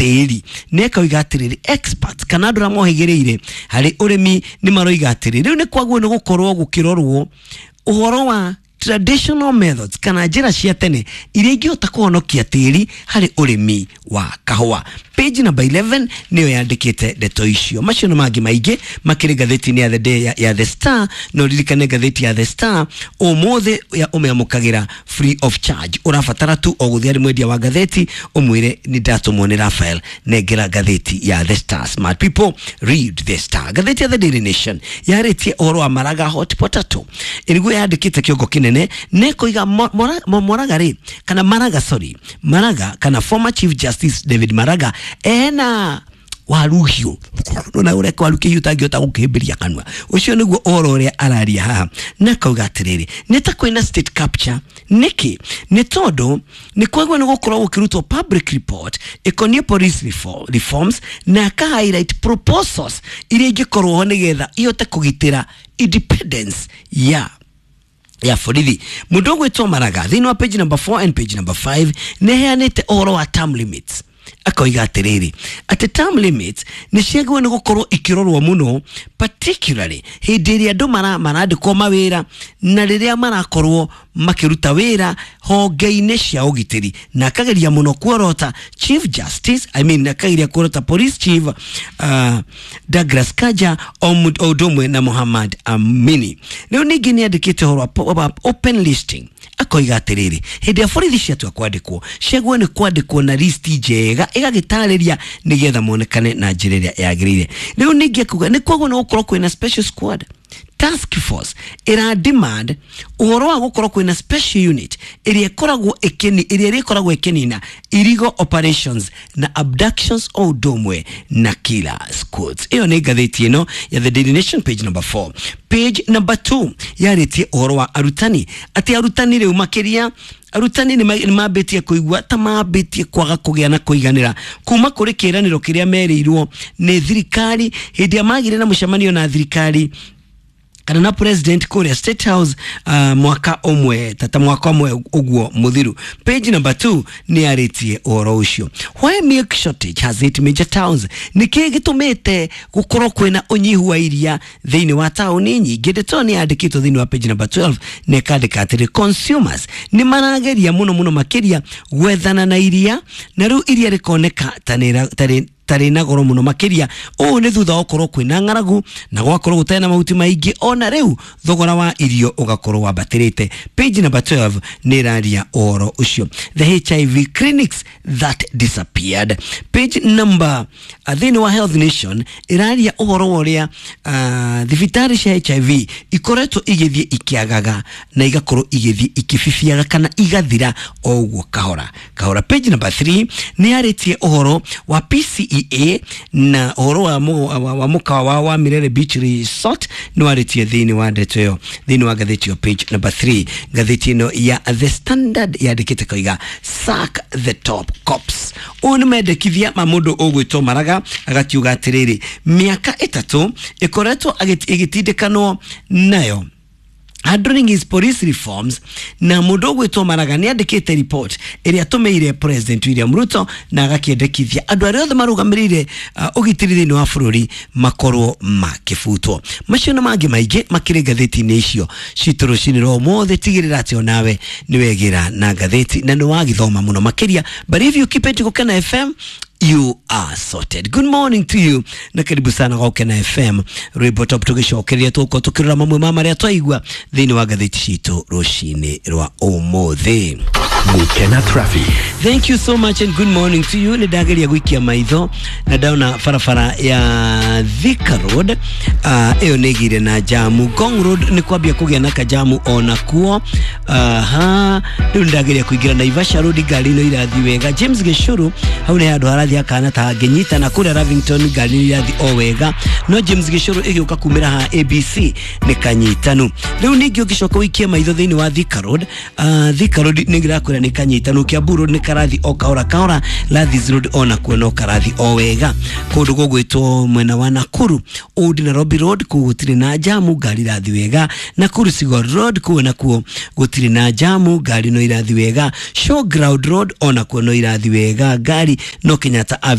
tĩri. Na ĩkoiga atĩrĩrĩ, experts kana andũ arĩa mohĩgĩrĩire harĩ ũrĩmi nĩ maroiga atĩrĩ, rĩu nĩ kwagwo nĩ gũkorwo gũkĩrorwo ũhoro wa traditional methods kana njĩra cia tene iria ingĩhota kũhonokia tĩri harĩ ũrĩmi wa kahũa. Page number 11 nĩyo yandĩkĩte ndeto icio. Macio na mangĩ maingĩ makĩrĩ ngathĩti-inĩ ya The Day ya The Star. No ririkane ngathĩti ya The Star ũmũthĩ ya ũmĩamũkagĩra free of charge. Ũrabatara tu o gũthiĩ harĩ mwendia wa ngathĩti ũmwĩre nĩ ndatũmwo nĩ Raphael, nengera ngathĩti ya The Star. Smart people read The Star. Ngathĩti ya The Daily Nation yarĩtie ũhoro wa Maraga hot potato, ĩrĩguo yandĩkĩte kĩongo kĩnene nĩ koiga Moraga rĩ, kana Maraga, sorry, Maraga kana former Chief Justice David Maraga ena waruhiũ nona ũrĩa waru kĩhiũ ũtangĩhota gũkĩhĩmbĩria kanua. Ũcio nĩguo ũhoro ũrĩa araria haha, na akauga atĩrĩrĩ, nĩ ta kwĩna state capture. Nĩkĩ? Nĩ tondũ nĩ kwagwo nĩ gũkorwo gũkĩrutwo public report ĩkoniĩ police reforms, na aka highlight proposals iria ingĩkorwo ho nĩgetha ihote kũgitĩra independence ya borithi. Mũndũ ũgwĩtwo Maraga thĩinĩ wa page number 4 and page number 5 nĩ heanĩte ũhoro wa term limits, akoiga atĩrĩrĩ, atĩ term limits nĩ ciagĩrĩirwo nĩ gũkorwo ikĩrorwo mũno, particularly hĩndĩ ĩrĩa andũ marandĩkwo mawĩra na rĩrĩa marakorwo makĩruta wĩra honge-inĩ cia ũgitĩri. Na akageria mũno kuorota Chief Justice, I mean, akageria kuorota Police Chief Douglas Kanja o ũndũ ũmwe na Muhammad Amini. Rĩu ningĩ nĩ andĩkĩte ũhoro wa open listing, akoiga atĩrĩrĩ, hĩndĩ ya borithi ciatua kwandĩkwo ciagwo nĩ kwandĩkwo na listi njega ĩgagĩtarĩria nĩgetha monekane na njĩra ĩrĩa yagĩrĩire. Rĩu ningĩ akuga nĩ kwagwo nĩ gũkorwo kwĩna special squad task force ĩra demand ũhoro wa gũkorwo kwĩna special unit ĩrĩa ĩkoragwo ĩkĩni ĩrĩa ĩrĩkoragwo ĩkĩnina illegal operations na abductions o ũndũ ũmwe na killer squads. Ĩyo nĩ ngathĩti ĩno ya The Daily Nation, page number 4. Page number 2 yarĩtie ũhoro wa arutani, atĩ arutani rĩu makĩria arutani nĩ mambĩtie kũigua ta mambĩtie kwaga kũgĩa na kũiganĩra kuma kũrĩ kĩĩranĩro kĩrĩa merĩirwo nĩ thirikari hĩndĩ ĩrĩa magire na mũcemanio na thirikari kana na president kũrĩa State House, mwaka ũmwe tata mwaka ũmwe ũguo mũthiru. Page number 2 nĩ yarĩtie ũhoro ũcio. Why milk shortage has hit major towns? Nĩ kĩĩ gĩtũmĩte gũkorwo kwĩna ũnyihu wa iria thĩinĩ wa taũni nyingĩ? Ndeto nĩ yandĩkĩtwo thĩinĩ wa page number 12 na ĩkandĩka atĩrĩ, consumers nĩ marageria mũno mũno makĩria gwethana na iria, na rĩu iria rĩkoneka ta nĩ tarĩ na goro mũno makĩria. Ũũ nĩ thutha wa gũkorwo kwĩna ng'aragu na gwakorwo gũtarĩ na mahuti maingĩ, ona rĩu thogora wa irio ũgakorwo wambatĩrĩte. Page number 12 nĩ ĩraria ũhoro ũcio. The HIV clinics that disappeared. Page number thĩinĩ wa Health Nation ĩraria ũhoro wa ũrĩa thibitarĩ cia HIV ikoretwo igĩthiĩ ikĩagaga na igakorwo igĩthiĩ ikĩbibiaga kana igathira o ũguo kahora kahora. Page number 3 nĩ yarĩtie ũhoro wa PCEA na ũhoro wa mũkawa wa Mirere Beach Resort nĩ warĩtie thĩinĩ wa ndeto ĩyo thĩinĩ wa ngathĩti ĩyo page number 3. Ngathĩti ĩno ya The Standard yandĩkĩte koiga sack the top cops. Ũyũ nĩ mendekithia ma mũndũ ũgwĩtwo Maraga, agakiuga atĩrĩrĩ, mĩaka 3 ĩkoretwo ĩgĩtindĩkanwo nayo handling his police reforms, na mũndũ ũgwĩtwo Maraga nĩ andĩkĩte report ĩrĩa atũmĩire President William Ruto na agakĩendekithia andũ arĩa othe marũgamĩrĩire ũgitĩri thĩinĩ wa bũrũri makorwo makĩbutwo. Macio na mangĩ maingĩ makĩrĩ ngathĩti-inĩ icio citũ rũcinĩ rwa ũmũthĩ. Tigĩrĩra atĩ onawe nĩ wegĩra na ngathĩti na nĩ wagĩthoma mũno makĩria. But if you keep it Gũkena FM, you are sorted. Good morning to you na karibu sana kwa Gũkena FM. Rwĩmbo top tũgĩcokeria tũgũkorwo tũkĩrora mamwe ma marĩa twaigua thĩinĩ wa ngathĩti citũ rũcinĩ rwa ũmũthĩ. Gũkena Traffic. Thank you so much and good morning to you. Nĩ ndageria gũikia maitho na ndaona barabara ya Thika Road ĩyo nĩ ĩgĩire na jamu. Ngong Road nĩ kwambia kũgĩa na kajamu ona kuo. Aha, rĩu nĩ ndageria kũingĩra Naivasha Road, ngari no irathiĩ wega. James Gĩcũrũ hau nĩ handũ harathiĩ hakana ta hangĩnyita, na kũrĩa Lavington ngari nĩ irathiĩ o wega, no James Gĩcũrũ ĩgĩũka kumĩra ha ABC nĩ kanyitanu. Rĩu ningĩ ũngĩcoka ũikie maitho thĩinĩ wa Thika Road, Thika Road nĩ ngĩrakwĩra nĩ kanyitanu. Kiambu Road nĩ karathi o kahora kahora, Landhies Road ona kuo no karathi o wega. Kũndũ gũgwĩtwo mwena wa Nakuru Old Nairobi Road kũu gũtirĩ na jamu, ngari irathi wega. Nakuru Sigor Road kũu nakuo gũtirĩ na jamu, ngari no irathi wega. Showground Road ona kuo no irathi wega, ngari no Kenyatta Avenue.